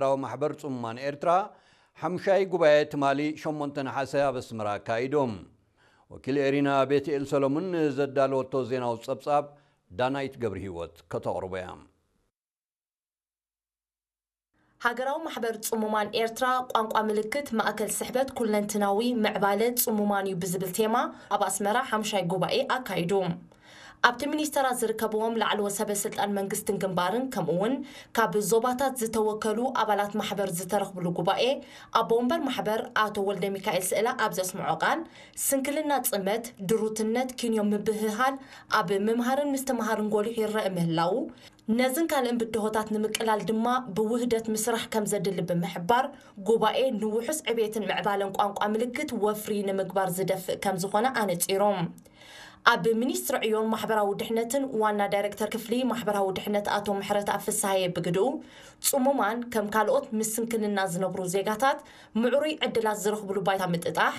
ሃገራዊ ማሕበር ጽሙማን ኤርትራ ሓምሻይ ጉባኤ ትማሊ ሸሞንተ ነሓሰ ኣብ ኣስመራ ኣካይዶም። ወኪል ኤሪና ቤትኤል ሰሎሙን ንዘዳለወቶ ዜናዊ ጸብጻብ ዳናይት ገብረ ህይወት ከተቕርቦ እያ። ሃገራዊ ማሕበር ጽሙማን ኤርትራ ቋንቋ ምልክት ማእከል ስሕበት ኩለንትናዊ ምዕባለ ጽሙማን እዩ ብዝብል ቴማ ኣብ ኣስመራ ሓምሻይ ጉባኤ ኣካይዱ። ኣብቲ ሚኒስተራት ዝርከብዎም ላዕለዎት ሰበ ስልጣን መንግስትን ግንባርን ከምኡ እውን ካብ ዞባታት ዝተወከሉ ኣባላት ማሕበር ዝተረኽብሉ ጉባኤ ኣቦ ወንበር ማሕበር ኣቶ ወልደ ሚካኤል ስእላ ኣብ ዘስምዖ ቃል ስንክልና ጽመት፣ ድሩትነት፣ ኪንዮ ምብህሃል ኣብ ምምሃርን ምስትምሃርን ጎሊሑ ይረአ ምህላዉ ነዝን ካልእን ብድሆታት ንምቅላል ድማ ብውህደት ምስራሕ ከም ዘድሊ ብምሕባር፣ ጉባኤ ንውሑስ ዕቤትን ምዕባለን ቋንቋ ምልክት ወፍሪ ንምግባር ዝደፍእ ከም ዝኾነ ኣነጺሮም። ኣብ ሚኒስትሪ ዕዮን ማሕበራዊ ድሕነትን ዋና ዳይሬክተር ክፍሊ ማሕበራዊ ድሕነት ኣቶ ምሕረተኣብ ፍስሃየ ብግድኡ፣ ጽሙማን ከም ካልኦት ምስ ስንክልና ዝነብሩ ዜጋታት ምዕሩይ ዕድላት ዝረኽብሉ ባይታ ምጥጣሕ፣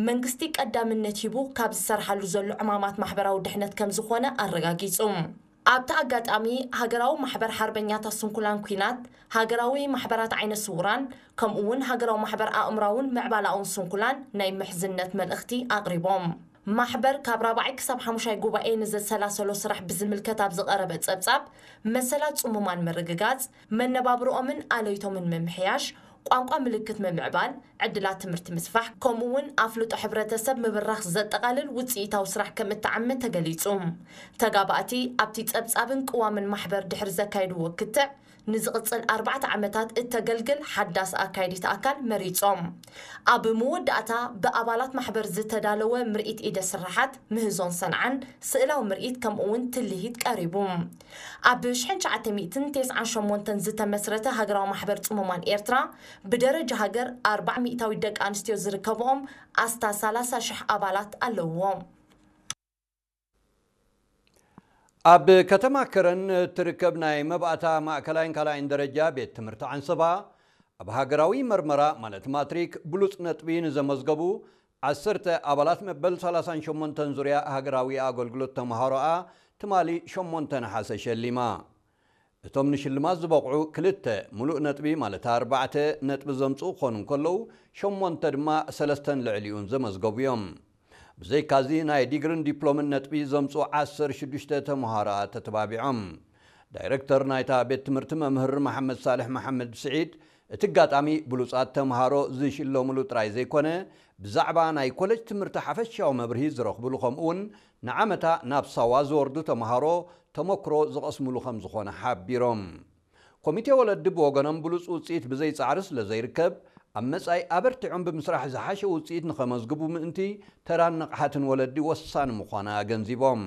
መንግስቲ ቀዳምነት ሂቡ ካብ ዝሰርሓሉ ዘሎ ዕማማት ማሕበራዊ ድሕነት ከም ዝኾነ ኣረጋጊጹ። ኣብቲ ኣጋጣሚ፣ ሃገራዊ ማሕበር ሓርበኛታት ስንኩላን ኲናት፣ ሃገራዊ ማሕበራት ዓይነ ስውራን፣ ከምኡ እውን ሃገራዊ ማሕበር ኣእምራውን ምዕባላውን ስንኩላን ናይ ምሕዝነት መልእኽቲ ኣቕሪቦም። ማሕበር ካብ ራብዓይ ክሳብ ሓሙሻይ ጉባኤ ንዘሰላሰሎ ስራሕ ብዝምልከት ኣብ ዝቐረበ ጸብጻብ፣ መሰላት ጽሙማን ምርግጋጽ፣ መነባብርኦምን ኣለይቶምን ምምሕያሽ፣ ቋንቋ ምልክት ምምዕባል፣ ዕድላት ትምህርቲ ምስፋሕ፣ ከምኡ እውን ኣፍልጦ ሕብረተሰብ ምብራኽ ዘጠቓልል ውፅኢታዊ ስራሕ ከም እተዓመ ተገሊፁ። ተጋባእቲ ኣብቲ ፀብፃብን ቅዋምን ማሕበር ድሕሪ ዘካየድዎ ክትዕ፣ ንዝቕፅል ኣርባዕተ ዓመታት እተገልግል ሓዳስ ኣካይዲት ኣካል መሪፆም። ኣብ መወዳእታ ብኣባላት ማሕበር ዝተዳለወ ምርኢት ኢደ ስራሓት፣ ምህዞን ሰንዓን፣ ስእላዊ ምርኢት ከምኡ እውን ትልሂት ቀሪቡ። ኣብ ሽሕን ትሽዓተ ሚእትን ተስዓን ሸሞንተን ዝተመስረተ ሃገራዊ ማሕበር ጽሙማን ኤርትራ ብደረጃ ሃገር ኣርባዓ ሚእታዊት ደቂ ኣንስትዮ ዝርከብኦም ኣስታት ሰላሳ ሽሕ ኣባላት ኣለውዎ። ኣብ ከተማ ከረን እትርከብ ናይ መባእታ ማእከላይን ካልኣይን ደረጃ ቤት ትምህርቲ ዓንሰባ ኣብ ሃገራዊ መርመራ ማለት ማትሪክ ብሉጽ ነጥቢ ንዘመዝገቡ ዓሰርተ ኣባላት መበል ሰላሳን ሸሞንተን ዙርያ ሃገራዊ ኣገልግሎት ተምሃሮኣ ትማሊ ሸሞንተ ነሓሰ ሸሊማ። እቶም ንሽልማት ዝበቕዑ ክልተ ሙሉእ ነጥቢ ማለት ኣርባዕተ ነጥቢ ዘምጽኡ ክኾኑ እንከለዉ ሸሞንተ ድማ ሰለስተን ልዕሊኡን ዘመዝገቡ እዮም። ብዘይካዚ ናይ ዲግርን ዲፕሎምን ነጥቢ ዘምጽኡ ዓሰርተ ሽዱሽተ ተምሃሮኣ ተተባቢዖም። ዳይረክተር ናይታ ቤት ትምህርቲ መምህር መሓመድ ሳልሕ መሓመድ ስዒድ እቲ ኣጋጣሚ ብሉጻት ተምሃሮ ዝሽለሙሉ ጥራይ ዘይኮነ ብዛዕባ ናይ ኮለጅ ትምህርቲ ሓፈሻዊ መብርሂ ዝረኽብሉ ከምኡ እውን ንዓመታ ናብ ሳዋ ዝወርዱ ተምሃሮ ተመክሮ ዝቐስምሉ ከም ዝኾነ ሓቢሮም። ኮሚቴ ወለዲ ብወገኖም ብሉጽ ውጽኢት ብዘይ ጻዕሪ ስለ ዘይርከብ ኣብ መጻኢ ኣበርቲዖም ብምስራሕ ዝሓሸ ውጽኢት ንኸመዝግቡ ምእንቲ ተራን ንቕሓትን ወለዲ ወሳኒ ምዃኑ ኣገንዚቦም።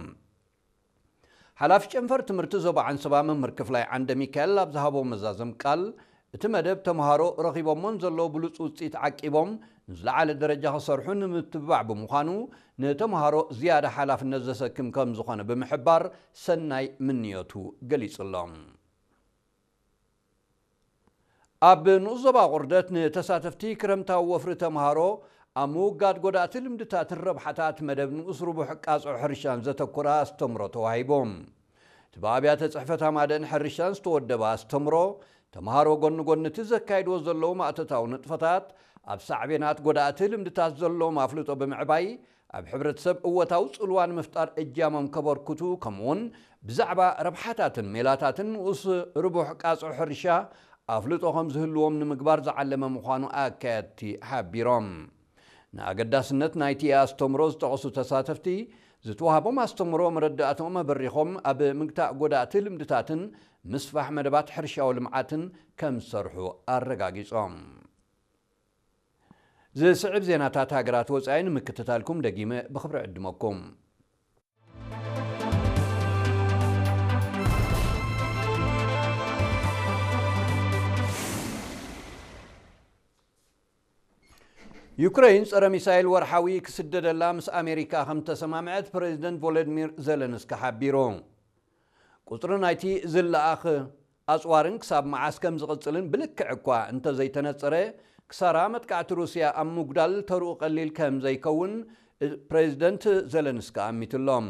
ሓላፊ ጨንፈር ትምህርቲ ዞባ ዓንሰባ መምህር ክፍላይ ዓንደ ሚካኤል ኣብ ዝሃቦ መዛዘም ቃል፣ እቲ መደብ ተምሃሮ ረኺቦሞን ዘለዉ ብሉጽ ውጽኢት ዓቂቦም ንዝለዓለ ደረጃ ክሰርሑ ንምትብባዕ ብምዃኑ፣ ንተምሃሮ ዝያዳ ሓላፍነት ዘሰክም ከም ዝኾነ ብምሕባር ሰናይ ምንዮቱ ገሊጹሎም። ኣብ ንኡስ ዞባ ቁርደት ንተሳተፍቲ ክረምታዊ ወፍሪ ተምሃሮ ኣብ ምውጋድ ጎዳእቲ ልምድታትን ረብሓታት መደብ ንኡስ ርቡሕ ቃጽዖ ሕርሻን ዘተኮረ ኣስተምሮ ተዋሂቦም። እቲ ብኣብያተ ጽሕፈት ኣማደን ሕርሻን ዝተወደበ ኣስተምሮ ተምሃሮ ጎኒ ጎኒ እቲ ዘካይድዎ ዘለዉ ማእቶታዊ ንጥፈታት ኣብ ሳዕቤናት ጎዳእቲ ልምድታት ዘለዎም ኣፍልጦ ብምዕባይ ኣብ ሕብረተሰብ እወታዊ ጽልዋ ንምፍጣር እጃሞም ከበርክቱ ከምኡውን ብዛዕባ ረብሓታትን ሜላታትን ንኡስ ርቡሕ ቃጽዖ ሕርሻ ኣፍልጦ ከም ዝህልዎም ንምግባር ዝዓለመ ምዃኑ ኣካየድቲ ሓቢሮም። ንኣገዳስነት ናይቲ ኣስተምሮ ዝጠቐሱ ተሳተፍቲ ዝተዋህቦም ኣስተምሮ መረዳእትኦም ኣበሪኾም ኣብ ምግታእ ጎዳእቲ ልምድታትን ምስፋሕ መደባት ሕርሻዊ ልምዓትን ከም ዝሰርሑ ኣረጋጊጾም። ዝስዕብ ዜናታት ሃገራት ወጻኢ ንምክትታልኩም ደጊመ ብኽብሪ ዕድመኩም። ዩክረይን ጸረ ሚሳይል ወርሓዊ ክስደደላ ምስ ኣሜሪካ ከም ተሰማምዐት ፕሬዚደንት ቮሎዲሚር ዘለንስኪ ሓቢሩ። ቁጽሪ ናይቲ ዝለኣኽ ኣጽዋርን ክሳብ መዓስ ከም ዝቕጽልን ብልክዕ እኳ እንተዘይተነጸረ፣ ክሳራ መጥቃዕቲ ሩስያ ኣብ ምጉዳል ተርኡ ቀሊል ከም ዘይከውን ፕሬዚደንት ዘለንስኪ ኣሚቱሎም።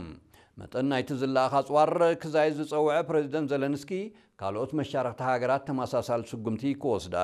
መጠን ናይቲ ዝለኣኽ ኣጽዋር ክዛይድ ዝጸውዐ ፕሬዚደንት ዘለንስኪ፣ ካልኦት መሻርኽቲ ሃገራት ተመሳሳሊ ስጉምቲ ክወስዳ